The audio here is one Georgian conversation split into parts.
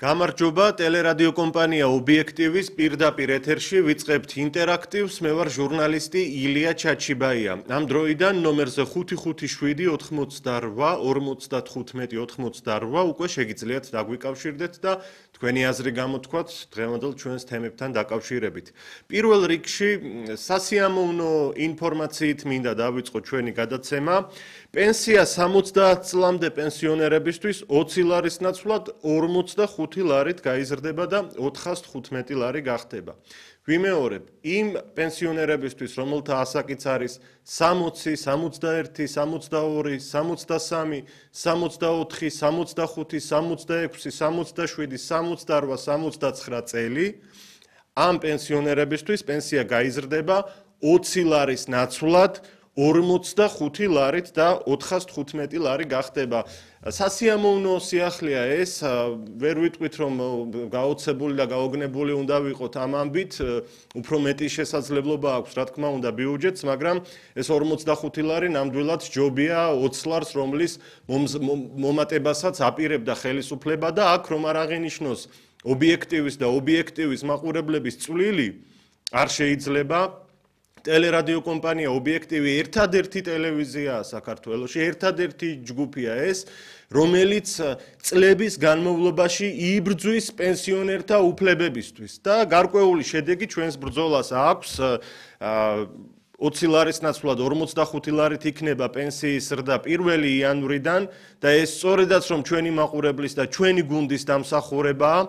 გამარჯობა, ტელერადიო კომპანია ობიექტივის პირდაპირ ეთერში ვიწყებთ ინტერაქტივს. მე ვარ ჟურნალისტი ილია ჩაჩიბაია. ამ დროიდან ნომერზე 557-58-95-88 უკვე შეგიძლიათ დაგვიკავშირდეთ და თქვენი აზრი გამოთქვათ დღევანდელ ჩვენს თემებთან დაკავშირებით. პირველ რიგში სასიამოვნო ინფორმაციით მინდა დავიწყო ჩვენი გადაცემა. პენსია 70 წლამდე პენსიონერებისთვის 20 ლარის ნაცვლად 45 ლარით გაიზრდება და 415 ლარი გახდება. ვიმეორებ, იმ პენსიონერებისთვის, რომელთა ასაკიც არის 60, 61, 62, 63, 64, 65, 66, 67, 68, 69 წელი, ამ პენსიონერებისთვის პენსია გაიზრდება 20 ლარის ნაცვლად 45 ლარით და 415 ლარი გახდება. სასიამოვნო სიახლეა ეს, ვერ ვიტყვით რომ გაოცებული და გაოგნებული უნდა ვიყოთ ამ ამბით, უფრო მეტი შესაძლებლობა აქვს, რა თქმა უნდა, ბიუჯეტს, მაგრამ ეს 45 ლარი ნამდვილად ჯობია 20 ლარს, რომლის მომატებასაც აპირებდა ხელისუფლება და აქ რომ არ აღინიშნოს ობიექტივის და ობიექტივის მაყურებლების წვლილი არ შეიძლება. ტელერადიო კომპანია ობიექტივი ერთადერთი ტელევიზიაა საქართველოში, ერთადერთი ჯგუფია ეს, რომელიც წლების განმავლობაში იბრძვის პენსიონერთა უფლებებისთვის და გარკვეული შედეგი ჩვენს ბრძოლას აქვს. 20 ლარის ნაცვლად 45 ლარით იქნება პენსიის ზრდა 1 იანვრიდან და ეს სწორედაც რომ ჩვენი მაყურებლის და ჩვენი გუნდის დამსახურებაა.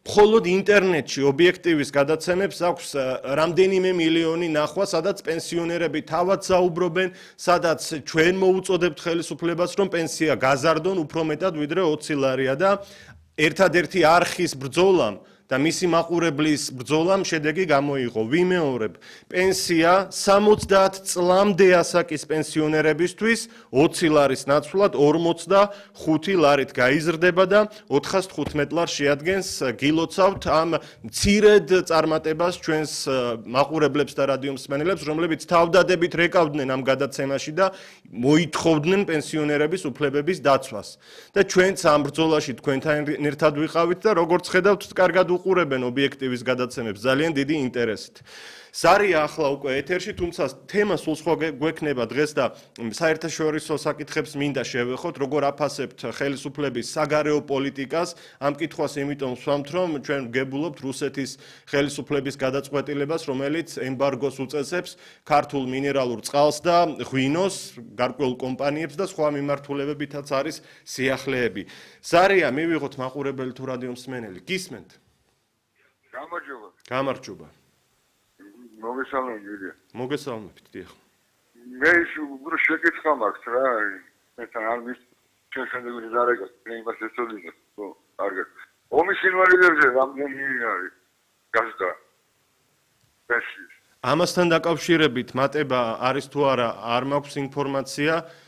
მხოლოდ ინტერნეტში ობიექტივის გადაცემებს აქვს რამდენიმე მილიონი ნახვა, სადაც პენსიონერები თავად საუბრობენ, სადაც ჩვენ მოუწოდებთ ხელისუფლებას, რომ პენსია გაზარდონ უფრო მეტად ვიდრე 20 ლარია და ერთადერთი არხის ბრძოლამ და მისი მაყურებლის ბრძოლამ შედეგი გამოიღო. ვიმეორებ, პენსია 70 წლამდე ასაკის პენსიონერებისთვის 20 ლარის ნაცვლად 45 ლარით გაიზრდება და 415 ლარს შეადგენს. გილოცავთ ამ მცირედ წარმატებას ჩვენს მაყურებლებს და რადიომსმენელებს, რომლებიც თავდადებით რეკავდნენ ამ გადაცემაში და მოითხოვდნენ პენსიონერების უფლებების დაცვას. და ჩვენც ამ ბრძოლაში თქვენთან ერთად ვიყავით და როგორც ხედავთ, კარგად უყურებენ ობიექტივის გადაცემებს ძალიან დიდი ინტერესით. ზარია ახლა უკვე ეთერში, თუმცა თემა სულ სხვა გვექნება დღეს და საერთაშორისო საკითხებს მინდა შევეხოთ, როგორ აფასებთ ხელისუფლების საგარეო პოლიტიკას. ამ კითხვას იმიტომ ვსვამთ, რომ ჩვენ ვგებულობთ რუსეთის ხელისუფლების გადაწყვეტილებას, რომელიც ემბარგოს უწესებს ქართულ მინერალურ წყალს და ღვინოს, გარკვეულ კომპანიებს და სხვა მიმართულებებითაც არის სიახლეები. ზარია, მივიღოთ მაყურებელი თუ რადიომსმენელი. გისმენთ? გამარჯობა. გამარჯობა. მოგესალმებით, ილია. მოგესალმებით, დიახ. მე უფრო შეკითხვა მაქვს რა, მეთან არ მის შეხედვით დარეკა, იმას ეცოდინებს, ხო, კარგად. ომის ინვალიდებზე რამდენი არის გასდა? პენსიის. ამასთან დაკავშირებით მატება არის თუ არა, არ მაქვს ინფორმაცია.